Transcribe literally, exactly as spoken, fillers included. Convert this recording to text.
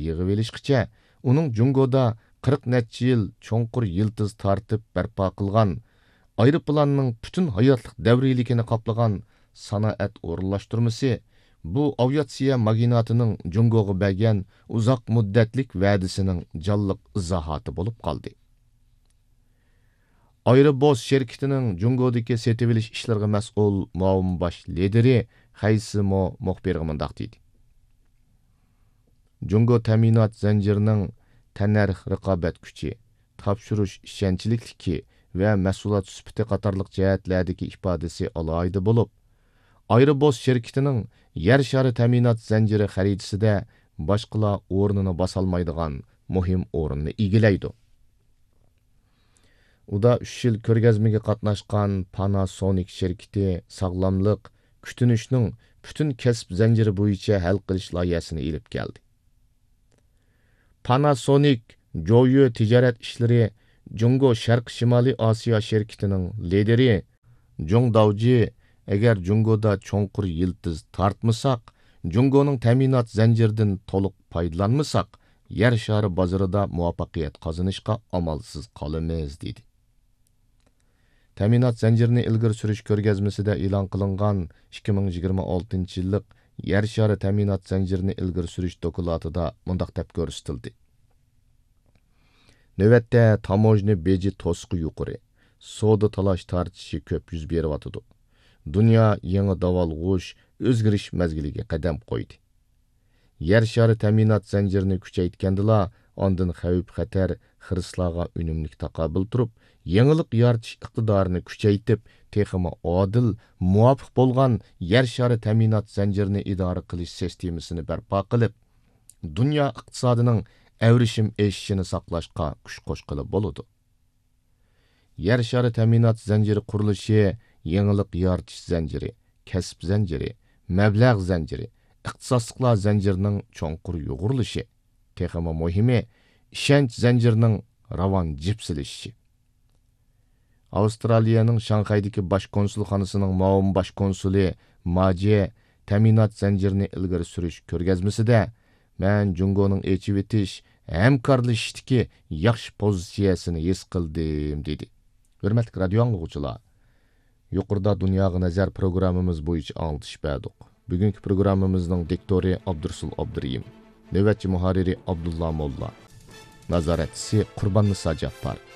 يىغىۋېلىشقىچە، ئۇنىڭ جۇڭگودا قىرىق نەچچە يىل چوڭقۇر يىلتىز تارتىپ بەرپا قىلغان، ئايروپىلاننىڭ پۈتۈن ھاياتلىق دەۋرىيلىكىنى قاپلىغان سانائەت ئورۇنلاشتۇرمىسى بۇ ئاۋىئاتسىيە ماگناتىنىڭ جۇڭگوغا بەرگەن ئۇزاق مۇددەتلىك ۋەدىسىنىڭ جانلىق ئىزاھاتى بولۇپ قالدى. ئايروبوس شىركىتىنىڭ جۇڭگودىكى سېتىۋېلىش ئىشلىرىغا مەسئۇل مۇئاۋىن باش لىدىرى خەي سىمو مۇخبىرغا مۇنداق دېدى: جۇڭگو تەمىنات زەنجىرىنىڭ تەننەرخ رىقابەت كۈچى، تاپشۇرۇش ئىشەنچلىكلىكى ۋە مەھسۇلات سۈپىتى قاتارلىق جەھەتلەردىكى ئىپادىسى ئالاھىدە بولۇپ، ئايروبوس شىركىتىنىڭ يەر شارى تەمىنات زەنجىرى خەرىتىسىدە باشقىلار ئورنىنى باسالمايدىغان مۇھىم ئورۇننى ئىگىلەيدۇ. ئۇدا ئۈچ يىل كۆرگەزمىگە قاتناشقان پاناسونىك شىركىتى ساغلاملىق، كۈتۈنۈشنىڭ پۈتۈن كەسىپ زەنجىرى بويىچە ھەل قىلىش لايىھەسىنى ئېلىپ كەلدى. پاناسونىك جويۈ تىجارەت ئىشلىرى جۇڭگو شەرقىي شىمالىي ئاسىيا شىركىتىنىڭ لىدىرى جۇڭ داۋجى، ئەگەر جۇڭگودا چوڭقۇر يىلتىز تارتمىساق، جۇڭگونىڭ تەمىنات زەنجىرىدىن تولۇق پايدىلانمىساق، يەر شارى بازىرىدا مۇۋەپپەقىيەت قازىنىشقا ئامالسىز قالىمىز، دېدى. تەمىنات زەنجىرىنى ئىلگىرى سۈرۈش كۆرگەزمىسىدە ئېلان قىلىنغان ئىككى مىڭ يىگىرمە ئالتىنچى يىللىق يەر شارى تەمىنات زەنجىرىنى ئىلگىرى سۈرۈش دوكلاتىدا مۇنداق دەپ كۆرسىتىلدى: نۆۋەتتە تاموژنا بېجى توسۇقى يۇقىرى، سودا تالاش تارتىشى كۆپ يۈز بېرىۋاتىدۇ. دۇنيا يېڭى داۋالغۇش، ئۆزگىرىش مەزگىلىگە قەدەم قويدى. يەر شارى تەمىنات زەنجىرىنى كۈچەيتكەندىلا، ئاندىن خەۋپ-خەتەر، خىرىسلارغا ئۈنۈملۈك تاقابىل تۇرۇپ، يېڭىلىق يارىتىش ئىقتىدارىنى كۈچەيتىپ، تېخىمۇ ئادىل، مۇۋاپىق بولغان يەر شارى تەمىنات زەنجىرىنى ئىدارە قىلىش سىستېمىسىنى بەرپا قىلىپ، دۇنيا ئىقتىسادىنىڭ ئەۋرىشىم ئېشىشىنى ساقلاشقا كۈچ قوشقىلى بولىدۇ. يەر شارى تەمىنات زەنجىرى قۇرۇلۇشى يېڭىلىق يارىتىش زەنجىرى، كەسىپ زەنجىرى، مەبلەغ زەنجىرى، ئىختىساسلىقلار زەنجىرىنىڭ چوڭقۇر يۇغۇرۇلۇشى، تېخىمۇ مۇھىمى، ئىشەنچ زەنجىرىنىڭ راۋان جىپسىلىشىشى. ئاۋسترالىيەنىڭ شاڭخەيدىكى باش كونسۇلخانىسىنىڭ مۇئاۋىن باش كونسۇلى ماجې تەمىنات زەنجىرىنى ئىلگىرى سۈرۈش كۆرگەزمىسىدە، مەن جۇڭگونىڭ ئېچىۋېتىش، ھەمكارلىشىشتىكى ياخشى پوزىتسىيەسىنى ھېس قىلدىم، دېدى. ھۆرمەتلىك رادىيو ئاڭلىغۇچىلار، يۇقىرىدا دۇنياغا نەزەر پروگراممىمىز بويىچە ئاڭلىتىش بەردۇق. بۈگۈنكى پروگراممىمىزنىڭ دىكتورى ئابدۇرۇسۇل ئابدۇرېھىم، نۆۋەتچى مۇھەررىرى ئابدۇللا موللا، نازارەتچىسى قۇرباننىسا جاپپار.